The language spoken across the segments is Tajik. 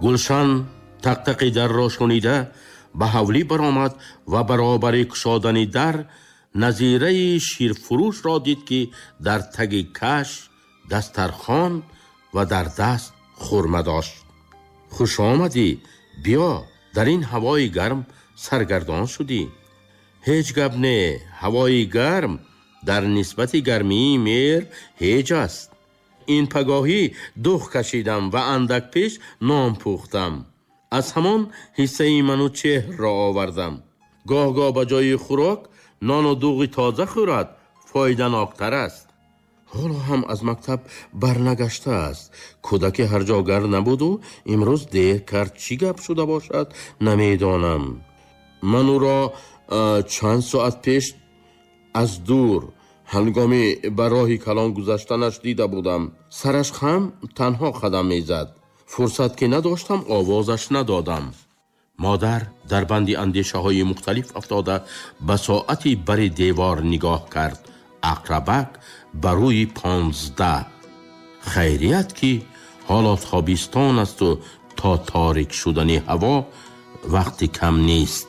Гулшан тақтақи дарро шунида ба ҳавлӣ баромад ва баробари кушодани дар назираи ширфурӯшро дид, ки дар таги каш дастархон ва дар даст хурма дошт. Хуш омадӣ, биё, дар ин ҳавои гарм саргардон шудӣ. Ҳеҷ гап не, ҳавои гарм дар нисбати гармии меҳр ҳеҷ аст. Ин пагоҳӣ дуғ кашидам ва андак пеш нон пухтам. Аз ҳамон ҳиссаи Манучеҳрро овардам. Гоҳ-гоҳ ба ҷои хӯрок нону дуғи тоза хӯрад фоиданоктар аст. Ҳоло ҳам аз мактаб барнагаштааст. Кӯдаки ҳарҷогар набуду имрӯз дер кард. Чӣ гап шуда бошад, намедонам. Ман ӯро чанд соат пеш аз дур ҳангоми ба роҳи калон гузаштанаш дида будам. Сараш хам танҳо қадам мезад. Фурсат ки надоштам, овозаш надодам. Модар дар банди андешаҳои мухталиф афтода ба соати бари девор нигоҳ кард. Ақрабак ба рӯи 15. Хайрият, ки ҳоло тобистон асту то торик шудани ҳаво вақти кам нест.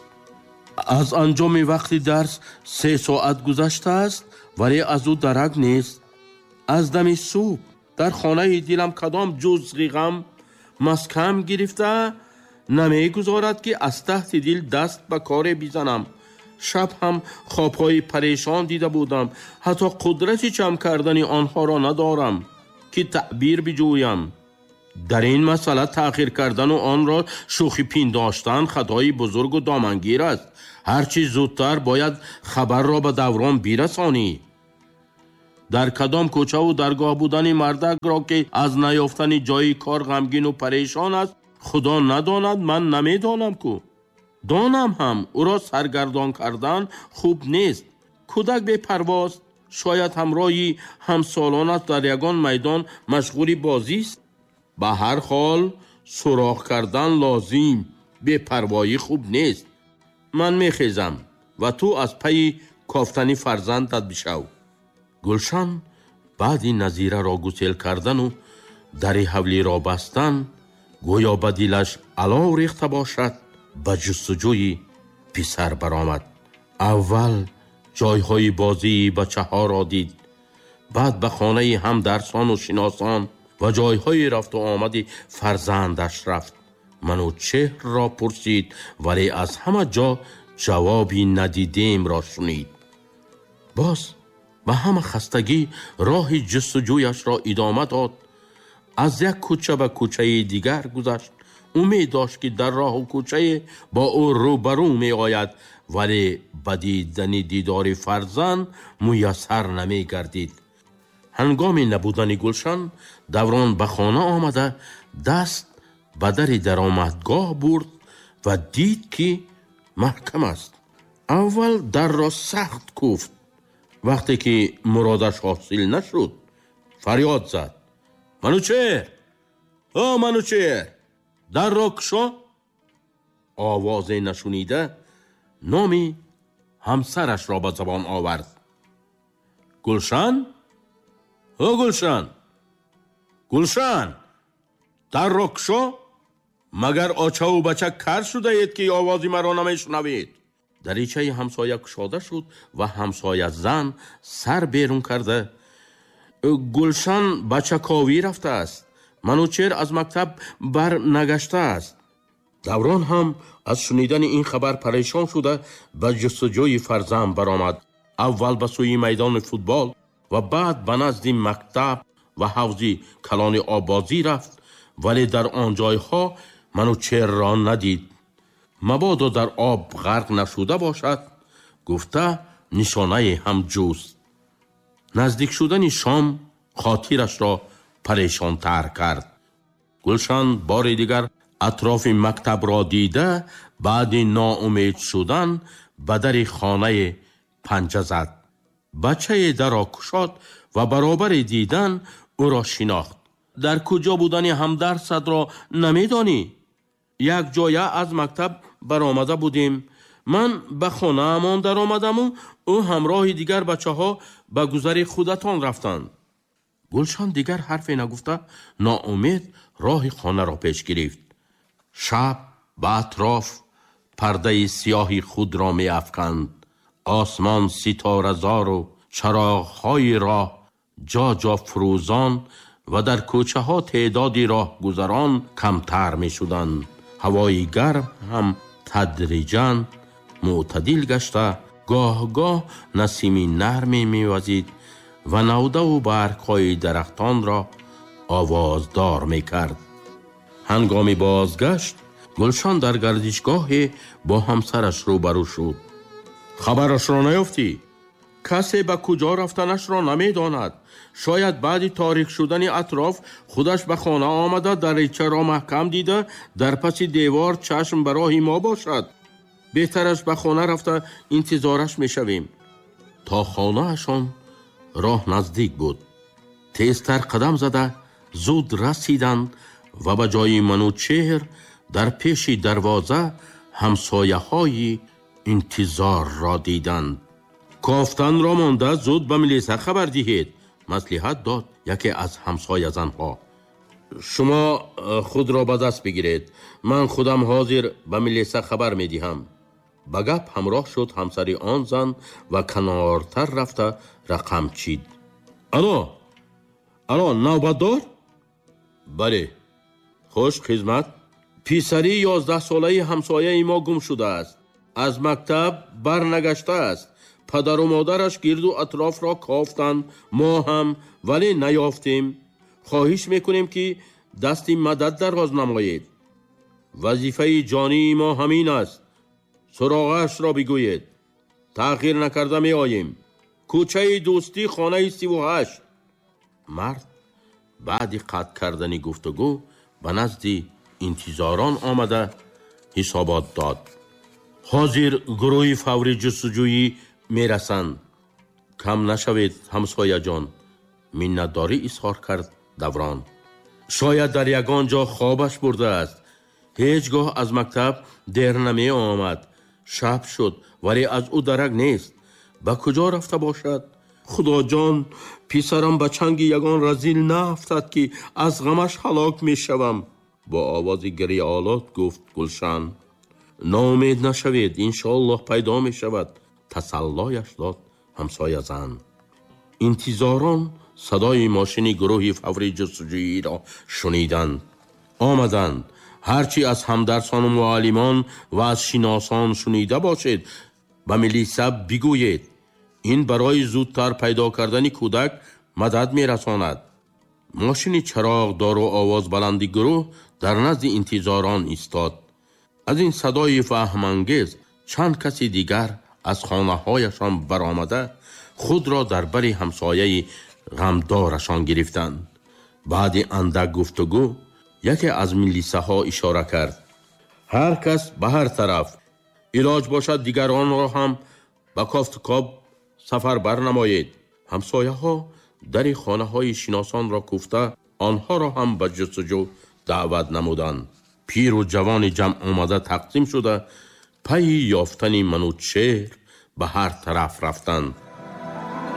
Аз анҷоми вақти дарс 3 соат гузаштааст, вале аз ӯ дарак нест. Аз дами субҳ дар хонаи дилам кадом ҷузғи ғам маскам гирифта намегузорад, ки аз таҳти дил даст ба коре бизанам. Шаб ҳам хобҳои парешон дида будам, ҳатто қудрати ҷамъ кардани онҳоро надорам, ки таъбир биҷӯям. Дар ин масъала таъхир кардану онро шӯхӣ пиндоштан хатои бузургу домангир аст. Ҳарчи зудтар бояд хабарро ба Даврон бирасонӣ. Дар кадом кӯчаву даргоҳ будани мардакро, ки аз наёфтани ҷои кор ғамгину парешон аст, Худо надонад, ман намедонам ку. Донам ҳам, ӯро саргардон кардан хуб нест. Кӯдак бепарвост, шояд ҳамроҳи ҳамсолонаш дар ягон майдон машғули бозист. Ба ҳар ҳол суроғ кардан лозим, бепарвоӣ хуб нест. Ман мехезам ва ту аз пайи кофтани фарзандат бишав. Гулшан баъди Назираро гусел кардану дари ҳавлиро бастан, гӯё ба дилаш алов рехта бошад, ба ҷустуҷӯи писар баромад. Аввал ҷойҳои бозии бачаҳоро дид, баъд ба хонаи ҳамдарсону шиносон ва ҷойҳои рафту омади фарзандаш рафт. Манучеҳрро пурсид, вале аз ҳама ҷо ҷавоби надидемро шунид. Боз ба ҳама хастагӣ роҳи ҷустуҷӯяшро идома дод. Аз як кӯча ба кӯчаи дигар гузашт. Умед дошт, ки дар роҳу кӯчае бо ӯ рӯбарӯ меояд, вале ба дидани дидори фарзанд муяссар намегардид. Ҳангоми набудани Гулшан Даврон ба хона омада, даст ба дари даромадгоҳ бурд ва дид, ки маҳкам аст. Аввал дарро сахт куфт. Вақте ки муродаш ҳосил нашуд, фарёд зад: «Манучеҳр! О, Манучеҳр, дарро кушо!» Овозе нашунида, номи ҳамсарашро ба забон овард: «Гулшан! О, Гулшан! Гулшан, дарро кушо! Магар очаву бача кар шудаед, ки овози маро намешунавед?» Даричаи ҳамсоя кушода шуд ва ҳамсоя зан сар берун карда: «Гулшан ба чаковӣ рафтааст. Манучеҳр аз мактаб бар нагаштааст». Даврон ҳам аз шунидани ин хабар парешон шуда, ба ҷустуҷӯи фарзанд баромад. Аввал ба сӯи майдони футбол ва баъд ба назди мактаб ва ҳавзи калони оббозӣ рафт, вале дар он ҷойҳо Манучеҳрро надид. Мабодо дар об ғарқ нашуда бошад, гуфта, нишонае ҳам ҷуст. Наздик шудани шом хотирашро парешонтар кард. Гулшан бори дигар атрофи мактабро дида, баъди ноумед шудан ба дари хонае панҷа зад. Бачае даро кушод ва баробари дидан ӯро шинохт. «Дар куҷо будани ҳамдарсатро намедонӣ? Як ҷоя аз мактаб баромада будем. Ман ба хонаамон даромадаму ӯ ҳамроҳи дигар бачаҳо ба гузари худатон рафтанд». Гулшан дигар ҳарфе нагуфта, ноумед роҳи хонаро пеш гирифт. Шаб ба атроф пардаи сиёҳи худро меафканд. Осмон ситоразору чароғҳои роҳ ҷо-ҷо фурӯзон ва дар кӯчаҳо теъдоди роҳгузарон камтар мешуданд. Ҳавои гарм ҳам тадриҷан мӯътадил гашта, гоҳ-гоҳ насими нарме мевазид ва навдаву баргҳои дарахтонро овоздор мекард. Ҳангоми бозгашт Гулшан дар гардишгоҳе бо ҳамсараш рӯбарӯ шуд. Хабарашро наёфтӣ? Касе ба куҷо рафтанашро намедонад. Шояд баъди торик шудани атроф худаш ба хона омада, даричаро маҳкам дида, дар паси девор чашм ба роҳи мо бошад. Беҳтараш ба хона рафта интизораш мешавем. То хонаашон роҳ наздик буд. Тезтар қадам зада зуд расиданд ва ба ҷои Манучеҳр дар пеши дарвоза ҳамсояҳои интизорро диданд. Кофтанро монда зуд ба милиса хабар диҳед, маслиҳат дод яке аз ҳамсоязанҳо. Шумо худро ба даст бигиред, ман худам ҳозир ба милиса хабар медиҳам. Ба гап ҳамроҳ шуд ҳамсари он зан ва канортар рафта рақам чид. Ало, ало, навбатдор? Бале, хуш хизмат. Писари 11-солаи ҳамсояи мо гум шудааст. Аз мактаб барнагаштааст. Падару модараш гирду атрофро кофтанд, мо ҳам, вале наёфтем. Хоҳиш мекунем, ки дасти мадад дароз намоед. Вазифаи ҷонии мо ҳамин аст. Суроғаашро бигӯед. Таъхир накарда меоем. Кӯчаи Дӯстӣ, хонаи 38. Мард баъди қатъ кардани гуфтугӯ ба назди интизорон омада ҳисобот дод. Ҳозир гурӯҳи фаври ҷустуҷӯӣ мерасанд. Кам нашавед, ҳамсояҷон, миннатдорӣ изҳор кард Даврон. Шояд дар ягон ҷо хобаш бурдааст. Ҳеҷ гоҳ аз мактаб дер намеомад. Шаб шуд, вале аз ӯ дарак нест. Ба куҷо рафта бошад? Худоҷон, писарам ба чанги ягон разил наафтад, ки аз ғамаш ҳалок мешавам, бо овози гирёолуд гуфт Гулшан. Ноумед нашавед, иншоаллоҳ пайдо мешавад, тасаллояш дод ҳамсоязан. Интизорон садои мошини гурӯҳи фаври ҷустуҷӯиро шуниданд. Омаданд. Ҳарчи аз ҳамдарсону муаллимон ва аз шиносон шунида бошед, ба милиса бигӯед. Ин барои зудтар пайдо кардани кӯдак мадад мерасонад. Мошини чароғдору овозбаланди гурӯҳ дар назди интизорон истод. Аз ин садои ваҳмангез чанд каси дигар аз хонаҳояшон баромада худро дар бари ҳамсояи ғамдорашон гирифтанд. Баъди андак гуфтугӯ яке аз милисаҳо ишора кард. Ҳар кас ба ҳар тараф, илоҷ бошад дигаронро ҳам ба кофтукоб сафар барнамоед. Ҳамсояҳо дари хонаҳои шиносонро куфта онҳоро ҳам ба ҷустуҷӯ даъват намуданд. Пиру ҷавони ҷамъ омада тақсим шуда пайи ёфтани Манучеҳр ба ҳар тараф рафтанд.